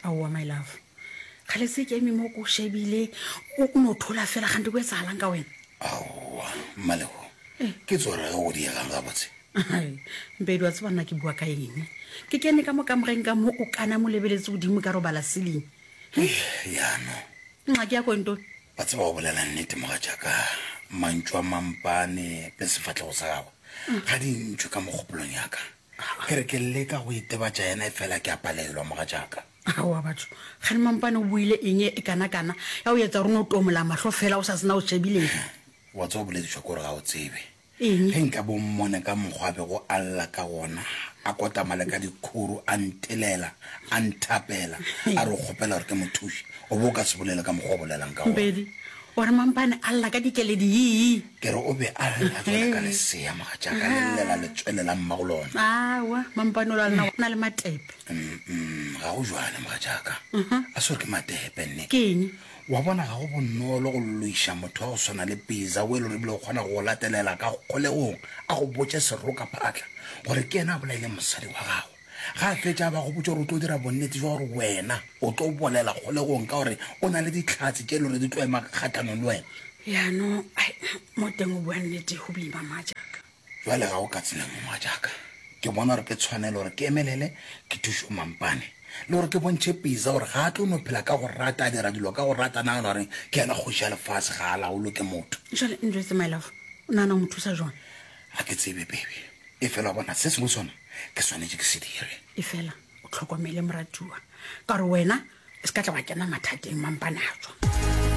Aowa my love, kgale se ke eme mo ko shebile o no thola fela gante go etsagalang ka wena? Aowa Mmalego, ke tsora ge go diegang gabotse. Mpedi wa tseba nna ke bua ka eng? Ke kene ka mo kamoreng ka mo o kana mo lebeletse godimo ka robala ceiling. Yano. Nxa ke ya ko ntone. Wa tseba go bolela nnete mogatšaka, mantšu a mampane le sefahlego sa gagwe ga di ntšwe ka mogopolong ya ka. Ke re ke leka go itebatša yena efela ke a palelwa mogatšaka. Aowa batho, kgane mampane o buile eng e kana-kana ya go etsa gore o no tomola mahlo fela o sa se na o shebileng? Wa tseba o boledišwa ke gore ga o tsebe. Eng? Ge nka bo mmone ka mokgwa a bego a lla ka gona, a kotama le ka dikhuru, a ntelela, a nthapela, a re o kgopela gore ke mo thuše, o be o ka se bolele ka mokgwa o bolelang ka gona. Mpedi, o re mampane a lla ka dikeledi yii? Ke re o be a lla jwalo ka lesea, mogatšaka, le llela letswele la mmago lona. Aowa, mampane o la lena o na le matepe. Mm, ga go jwalo, mogatšaka. A se gore ke matepe, nne. Ke eng? Wa bona, ga go bonolo go loiša motho wa go swana le Pizza, o e le gore ebile o kgona go go latelela ka kgolegong a go botše serokaphatla gore ke yena a bolaileng mosadi wa gago. Ga a fetša a ba go botša gore o tlo dira bonnete jwa gore wena o tlo bolela kgolegong ka gore o na le dihlatse tše e le gore di tlo ema kgahlanong le wena. Jaanong, ai, mo teng o bua nnete, go boima Majaka. Bjale ga go ka tsela nngwe, mogatšaka. Ke bona gore ke tshwanelo gore ke emelele ke thuše Mampane, le gore ke bontšhe Pizza gore ga a tlo no phela ka go rata, a dira dilo ka go rata, a nagana gore ke yena kgoši ya lefase, ga a laolwe ke motho. Jwale njwetse my love, o nagana go mo thusa jwang? Ga ke tsebe, baby. Efela wa bona, se sengwe sona ke swanetše ke se dire. Efela o hlokomele moratuwa, ka gore wena e se ka tla wa kena mathateng, Mampane a tšwa.